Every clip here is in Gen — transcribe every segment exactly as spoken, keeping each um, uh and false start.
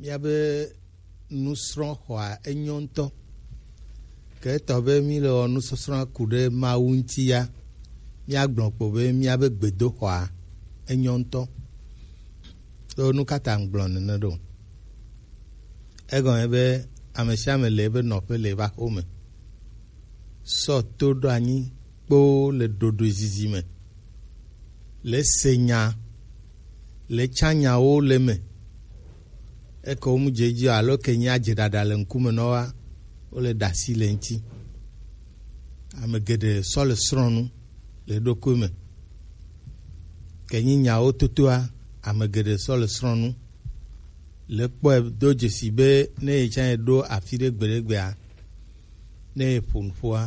Míabe nusrɔ̃xɔa enyo ŋutɔ. Ke etɔ be míle wɔ nusɔsrɔ̃a ku ɖe Mawu ŋuti ya, míagblɔ kpo be míabe gbedoxɔa enyo ŋutɔ. Ɖo nu ka ta ŋgblɔ nene ɖo? Egɔme be ame sia ame le ebe nɔƒe le eƒe aƒe me. Sɔ to ɖo anyi kpoo le ɖoɖoezizi me. Le se nya, le tsa nyawo le me. Eke wo mu dze edzi o, alo ke nyi adze ɖaɖa le ŋkume nɔ wa, wole ɖe asi le ŋuti. Ame geɖe sɔ le srɔ̃ nu le eɖokui me. Ke nyi nyawo totoa, ame geɖe sɔ le srɔ̃ nu. Le kpɔe do dzesi be ne ye tsã ye ɖo afi ɖe gbeɖegbea, ne ye ƒo nuƒoa,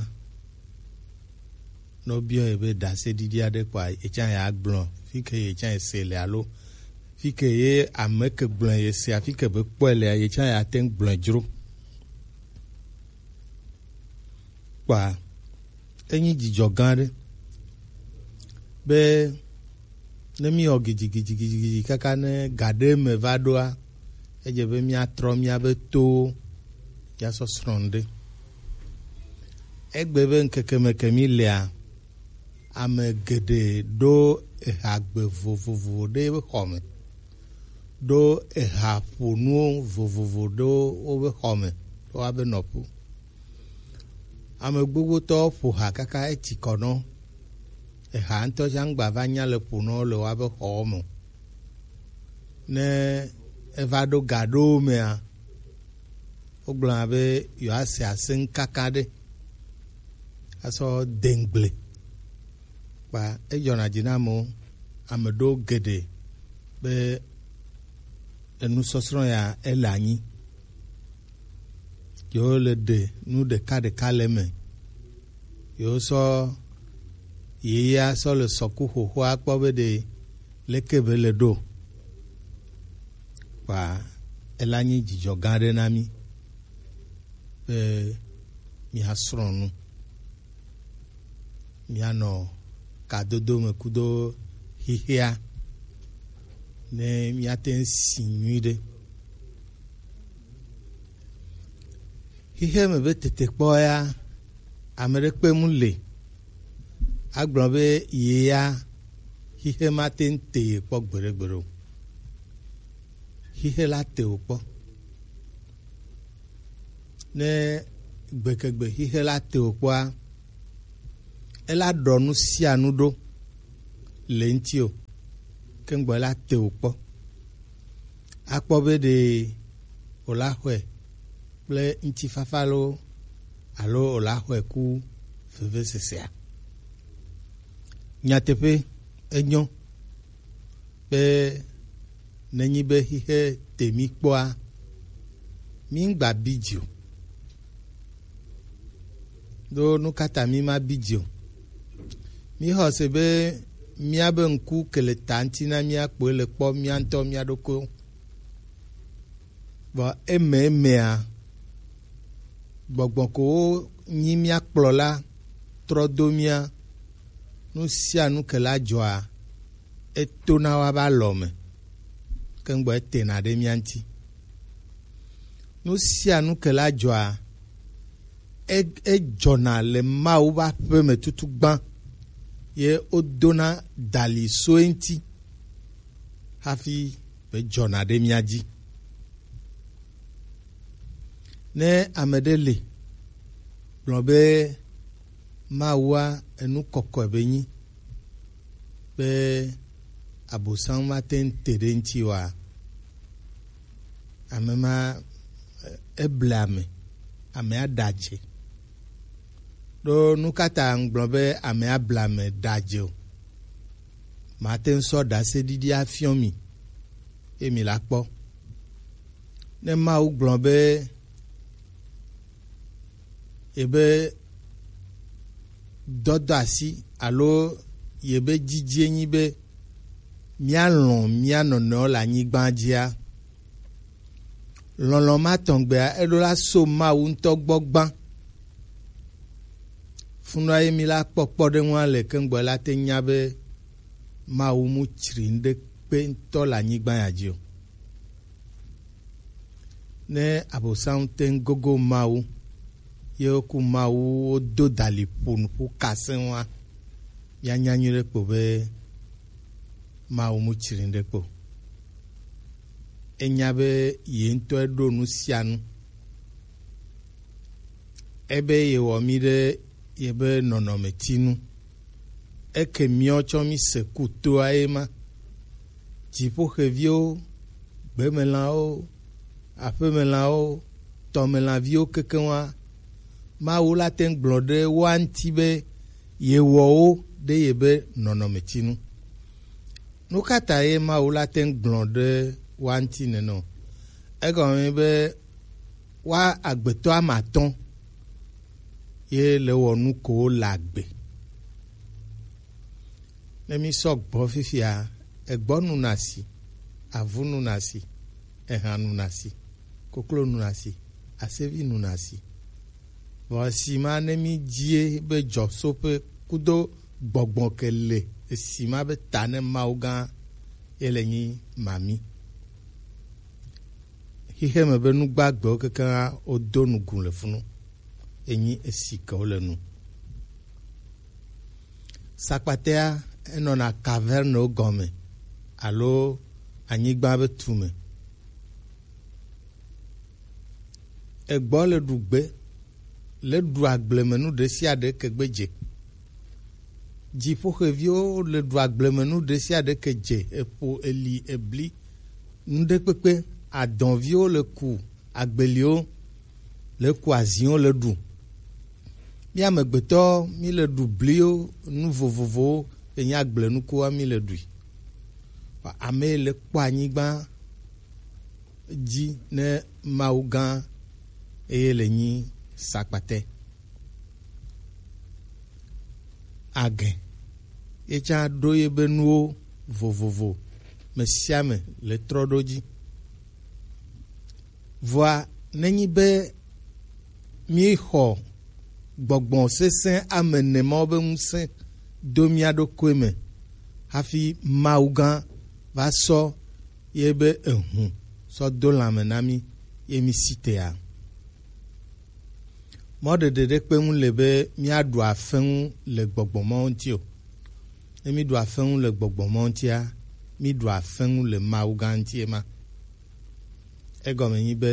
ne wobiɔ ye be ɖaseɖiɖi aɖe kpɔa, ye tsã ye agblɔ fi ke ye tsã ye se le alo fi ke ye ame ke gblɔ ye sea, fi ke be kpɔe lea, ye tsã ye ate ŋu gblɔe dzro. Kpɔa, enyi dzidzɔ gã aɖe be ne míwɔ gidzigidzigidzigidzi kaka ne ga ɖe me va ɖoa, edze be míatrɔ míabe towo míasɔ srɔ̃ nu ɖe. Egbe be ŋkeke me ke mí lea, ame geɖe ɖo ehagbe vovovo ɖe wobe xɔ me, ɖo ehaƒonuwo vovovo ɖo wobe xɔ me, ɖo woabe nɔƒe. Ame gbogbotɔwo ƒo ha kaka eti kɔ nɔ. Eha ŋutɔ tsã ŋgba va nya le ƒo nɔ le woabe xɔwo me o. Ne eva ɖo ga ɖewo mea, wogblɔna be yewoase aseŋ kaka ɖe asɔ de ŋgble. Kpa edzɔna dzi na amewo, ame ɖewo geɖe be enusɔsrɔ̃ ya ele anyi. Yewo le ɖe nu ɖeka ɖeka le eme. Yewo sɔ yeyea sɔ le sɔku xoxoa kpɔ be ɖe leke be le ɖo. Kpa ela nyi dzidzɔ gã aɖe na mí be míasrɔ̃ nu, míanɔ kadodo me kudo xixea, ne míate ŋu si nyuiɖe. Xixe me be tetekpɔ ya, ame ɖe kpe mu le agblɔ be ye ya xixe mate ŋu te ye kpɔ gbeɖegbeɖe o. Xixe la te wò kpɔ. Ne gbekegbe xixe la te wò kpɔa, ela ɖɔ nu sia nu ɖo le ŋuti o, ke ŋgbɔ ela te wò kpɔ. Akpɔ be ɖe wòla xɔe kple ŋutifafa loo alo wòla xɔe ku vevesesea. Nyateƒe, enyo be nenyi be xixe te mí kpɔa, mí ŋgba bi dzi o. Ɖo nu ka ta mí ma bi dzi o? Mí xɔ se be míabe ŋku ke le ta ŋuti na mía kpoe le kpɔ mía ŋutɔ mía ɖokuiwo. Vɔ eme emea, gbɔgbɔ ko wo nyi mía kplɔla trɔ do mía, nu sia nu ke la dzɔa, etona wa ba lɔ me, ke ŋgbɔ etena ɖe mía ŋuti. Nu sia nu ke la dzɔa, e- edzɔna le Mawu ƒe aƒe me tutu gbã, ye wodona dali so eŋuti hafi be dzɔna ɖe mía dzi. Ne ame ɖe le gblɔ be Mawua enu kɔkɔe be nyi, be Abosam mate ŋu te ɖe eŋuti oa, ame ma, e- eble ame, amea ɖe adze. Ɖo nu ka ta ŋgblɔ be amea ble ame ɖe adze o? Mate ŋu sɔ ɖaseɖiɖi afiɔ mi, ye mi la kpɔ. Ne Mawu gblɔ be yebe dɔdɔ asi alo yebe dzidzie nyi be míalɔ̃ mía nɔnɔewo le anyigba dzia, lɔlɔ̃ ma tɔngbea eɖo la so Mawu ŋutɔ gbɔ gbã. Funua ye mi la kpɔ kpɔɖeŋua le keŋgbɔ la te nya be Mawu mu tsri ŋɖekpe ŋutɔ le anyigba ya dzi o. Ne Abosam te ŋu gogo Mawu, ye woku Mawu wodo dali ƒo nuƒo kasẽ wa, míanya nyuie ɖe kpo be Mawu mu tsri ɖe kpo. Enya be ye ŋutɔ eɖo nu sia nu. Ebe yewɔ mí ɖe yebe nɔnɔmetinu. Eke miɔ tsɔ mi se kutoa ye ma. Dziƒoxeviwo, gbemelãwo, aƒemelãwo, tɔmelãviwo kekeŋ wa, Mawu la te ŋu gblɔ ɖe woa ŋuti be yewɔ wo ɖe yebe nɔnɔmetinu. Nu ka ta ye Mawu la te ŋu gblɔ ɖe woa ŋuti nenɔ? Egɔme be wa agbetɔ ame atɔ̃ ye le wɔ nu ko le agbe. Ne mi sɔ gbɔ fifia, egbɔ nu na si, avu nu na si, eha nu na si, koklo nu na si, asevi nu na si. Vɔ esi ma ne mi dzie be dzɔsoƒe kudo gbɔgbɔ ke le esi ma be ta ne Mawu gã ye le nyi mami. Xixe me be nugbagbewo kekeŋ wodo nugu le funu. Enyi esi ke wole nu. Sakpatea enɔna kavernewo gɔme alo anyigba be tume. Egbɔ le ɖu gbe, le ɖu agblemenu ɖe sia ɖe ke gbe dze. Dziƒoxeviwo le ɖu agblemenu ɖe sia ɖe ke dze, eƒo, eli, ebli, nuɖekpekpe, adɔviwo le ku, agbeliwo le ku, aziwo le ɖu. Mí amegbetɔ mí le ɖu bliwo, nu vovovowo enye agblenukuwa mí le ɖui. Ame le kpɔ anyigba dzi ne Mawu gã eye le nyi sakpate. Age ye tsã ɖo ye be nuwo vovovo me sia me le trɔ ɖo dzi. Vɔa nenyi be míexɔ gbɔgbɔ sesẽ ame ene mawo be ŋusẽ do mía ɖokui me hafi Mawu gã va sɔ ye be ehu sɔ do lãme na mí ye mí si tea. Mɔɖeɖe ɖe kpe ŋu le be míaɖu afeŋu le gbɔgbɔ mawo ŋuti o. Ne míɖu afeŋu le gbɔgbɔ mawo ŋutia, míɖu afeŋu le Mawu gã ŋuti ema. Egɔme nyi be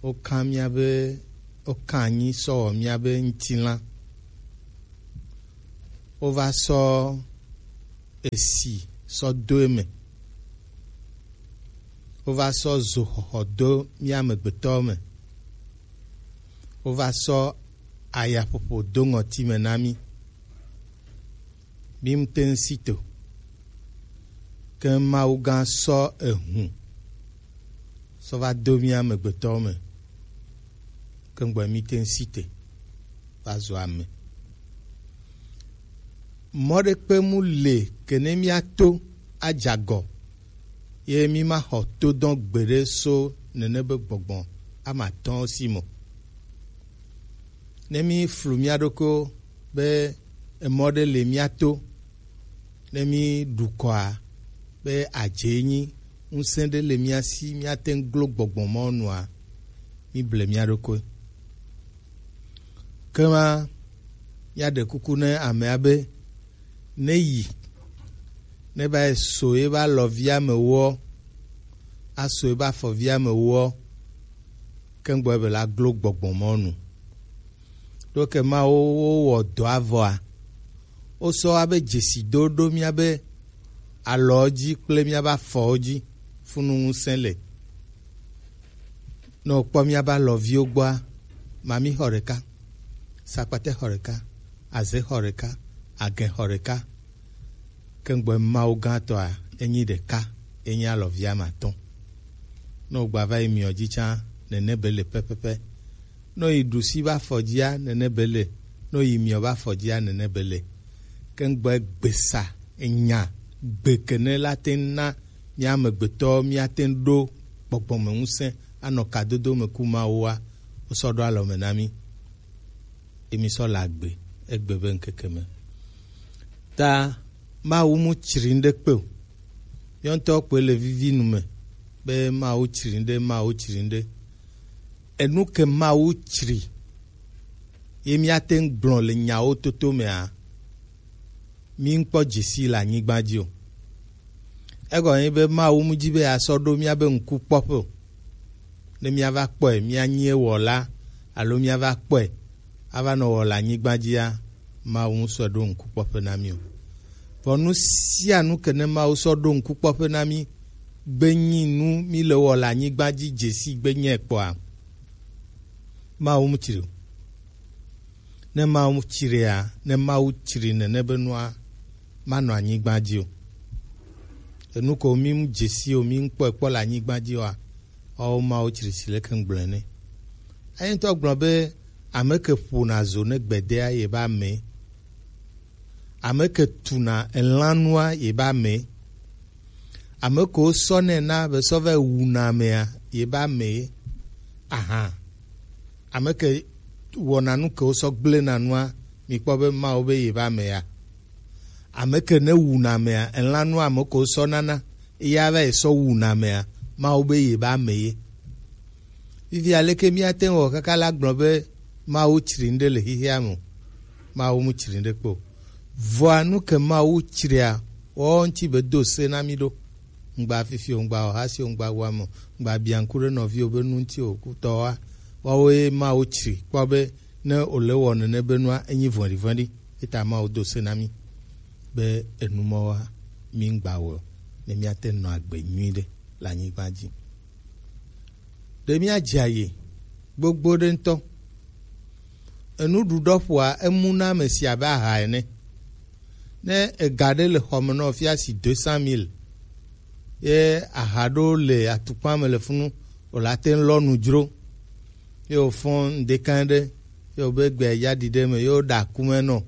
woka míabe, woka anyi sɔ wɔ míabe ŋutilã. Wova sɔ esi sɔ do eme. Wova sɔ zo xɔxɔ do mí amegbetɔwo me. Wova sɔ ayaƒoƒo do ŋɔti me na mí. Mí ŋute ŋu si to. Ke Mawu gã sɔ ehu sɔ va do mí amegbetɔwo me. Ke ŋgbɔ mí te ŋu si te va zu ame. Mɔ ɖe kpe mu le ke ne míato adze agɔ, ye mímaxɔ todɔn gbeɖe so nene be gbɔgbɔ ame atɔ̃wo si me o. Ne míflu mía ɖokuiwo be emɔ ɖe le mía to, ne míɖu kɔa be adze nyi ŋusẽ ɖe le mía si, míate ŋu glo gbɔgbɔ mɔ nua, míble mía ɖokui. Ke ma míaɖe kuku ne amea be ne yi, ne va yi so ye be alɔvia me wɔ, aso ye be afɔvia me wɔ, ke ŋgbɔ be la glo gbɔgbɔ mɔ nu. Ɖo ke ma wo, wo wɔ dɔ avɔa, wo sɔ abe dzesi do ɖo míabe alɔ dzi kple míabe afɔwo dzi funu ŋusẽ le. Ne wokpɔ míabe alɔviwo gbɔa, mami xɔ ɖeka, sakpate xɔ ɖeka, aze xɔ ɖeka, agẽ xɔ ɖeka. Ke ŋgbɔ Mawu gãtɔa, enyi ɖeka, enyi alɔvi ame atɔ̃. Ne wogba va yi miɔ dzi tsã, nene be le pɛpɛpɛ. Ne woyi ɖusi be afɔ dzia, nene be le. Ne woyi miɔ be afɔ dzia, nene be le. Ke ŋgbɔ gbesa enya gbe kene la te ŋu na mía amegbetɔwo míate ŋu ɖo gbɔgbɔ me ŋusẽ anɔ kadodo me ku Mawua, wosɔ ɖo alɔ me na mí. Ye mí sɔ le agbe egbe be ŋkeke me. Ta Mawu mu tsri ŋɖe kpe o. Míawo ŋutɔ kpoe le vivi nu me. be Mawu tsri ŋɖe, Mawu tsri ŋɖe. Enu ke Mawu tsri ye míate ŋu gblɔ le nyawo toto mea, mí ŋkpɔ dzesi le anyigba dzi o. Egɔme nyi be Mawu mu dzi be yeasɔ ɖo míabe ŋkukpɔƒe o, ne míava kpɔe, míanyi ewɔla, alo míava kpɔe ava nɔ wɔ le anyigba dzia, Mawu ŋsɔe ɖo ŋkukpɔƒe na mí o. Vɔ nu sia nu ke ne Mawu sɔ ɖo ŋkukpɔƒe na mí gbe nyi nu mí le wɔ le anyigba dzi dzesi gbe nyɛ kpɔa, Mawu mu tsri o. Ne Mawu tsria, ne Mawu tsri nene be nua, manɔ anyigba dzi o. Enu ko mí mu dzesi o, mí ŋkpɔe kpɔ le anyigba dzi oa, woawo Mawu tsri si leke ŋgblɔe ne. Eyi ŋutɔ gblɔ be ame ke ƒona zo ne gbedea ye ba me. Ame ke tuna elanua ye ba me. Ame ke wosɔ nɛ na be sɔ va wuna amea ye ba me. Aha. Ame ke wɔna nu ke wosɔ gblena nua, mikpɔ be Mawu be ye ba me ya. Ame ke ne wuna amea, elanua ame ke wosɔ nana, eya va yi sɔ wuna amea, Mawu be ye ba me ye. Fifi aleke míate ŋu wɔ kaka la gblɔ be Mawu tsri ŋɖe le xixea me o? Mawu mu tsri ŋɖe kpe o. Vɔa nu ke Mawu tsria, woawo ŋuti be do se na mí ɖo. Ŋgba fifi o, ŋgba ohasi o, ŋgba wame o, ŋgba bianku ɖe nɔviwo be nu ŋuti o, kutɔwoa, woawoe Mawu tsri kpɔ be ne wòle wɔ nene be nua, enyi vɔ̃ɖivɔ̃ɖi. Eta Mawu do se na mí be enu mawoa, mí ŋgba wɔe o, ne míate ŋu nɔ agbe nyui ɖe le anyigba dzi. Ɖe míadze aye gbogbo ɖe ŋutɔ. Enuɖuɖɔ ƒoa emu na ame sia abe aha ene. Ne ega ɖe le xɔme nɔ fia si deux cent mille, ye aha ɖo le atukpa me le funu, wòle ate ŋu lɔ nu dzro. Ye wòfɔ ŋdeka ɖe, ye wòbe gbea ya ɖi ɖe me, ye woɖe akume nɔ.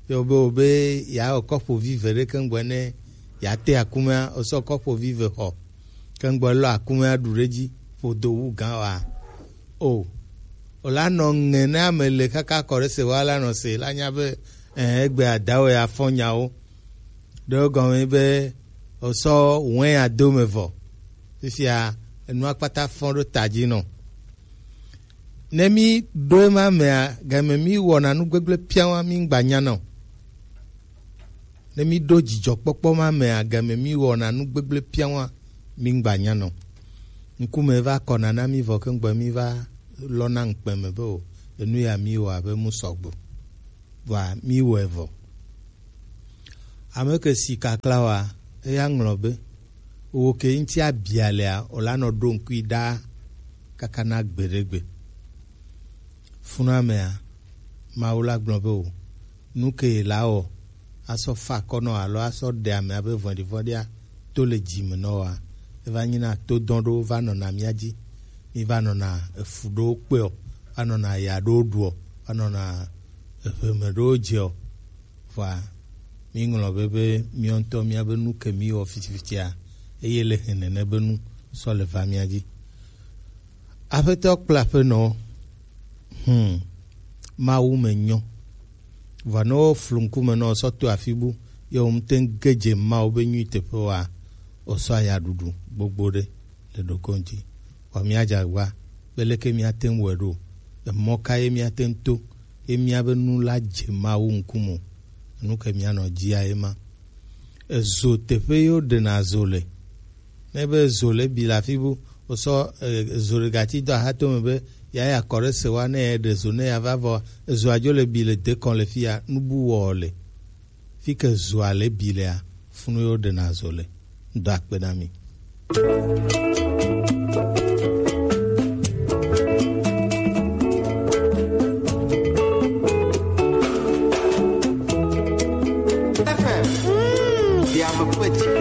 Ye wòbe, wòbe yeawɔ kɔƒovi ve ɖe keŋgbɔ ne yeate akumea, wòsɔ kɔƒovi ve xɔ. Keŋgbɔ lɔ akumea ɖu ɖe edzi, ƒodo wu gã wa. O, wòla nɔ ŋe ne ame le kaka kɔ ɖe se wa la nɔ se, la nya be, ɛ, egbe adawo ya fɔ nyawo. Ɖewo gɔme be wòsɔ wɛn ado me vɔ. Fifia enua kpata fɔ ɖo ta dzi nɔ. Ne mí ɖo ema mea, game mí wɔna nu gbegblẽ piawa mí ŋgba nyana o. Ne mí ɖo dzidzɔkpɔkpɔ ma mea, game mí wɔna nu gbegblẽ piawa mí ŋgba nyana o. Ŋkume va kɔna na mí vɔ keŋgbɔ mí va lɔna ŋukpe me be o, enu ya mí wɔ abe mu sɔgbe. Vɔa mí wɔe vɔ. Ame ke si kakla wa, eya ŋlɔ be, wo ke ŋuti abia lea, wòla nɔ ɖo ŋkui ɖaa kaka na gbeɖegbe. Funamea, Mawu la gblɔ be o, nu ke la wɔ, asɔ fa akɔ nɔ alo asɔ ɖe ame abe vɔ̃ɖivɔ̃ɖia to le dzi me nɔ wa, eva nyina to dɔn ɖo va nɔna mía dzi. Mí va nɔna efu ɖo kpɔe o, va nɔna ya ɖo ɖu o, va nɔna eʋe me ɖo dze o. Vɔa, míŋlɔ be, be míawo ŋutɔ míabe nu ke míwɔ fitsifitsiea, eye le hɛnɛnɛ be nu sɔ le va mía dzi. Aƒetɔ kple aƒenɔwo, hmm, Mawu me nyɔ. Vɔa ne woflu ŋkume na wò sɔ to afi bu, ye wò ŋute ŋu ge dze Mawu be nyui teƒe oa, wòsɔ aya ɖuɖu gbogbo ɖe le ɖokuiŋuti. Vɔ míadze agbagba be leke míate ŋu wɔe ɖo. Emɔ ka ye míate ŋu to ye míabe nu la dze Mawu ŋkume o? Enu ke míanɔ dzia ye ma. Ezo teƒe ye woɖena zo le. Ne be zo le bi le afi bu, wosɔ, e, zo ɖe gati do axatome be yeayi akɔ ɖe se wa ne yeɖe zo ne yeava vɔ, ezoa dzo le bi le dekɔn le fi ya, nu bu wɔ le. Fi ke zoa le bi lea, funu yewo ɖena zo le. Do akpe na mi. F M. Mm. Diame kpetsi.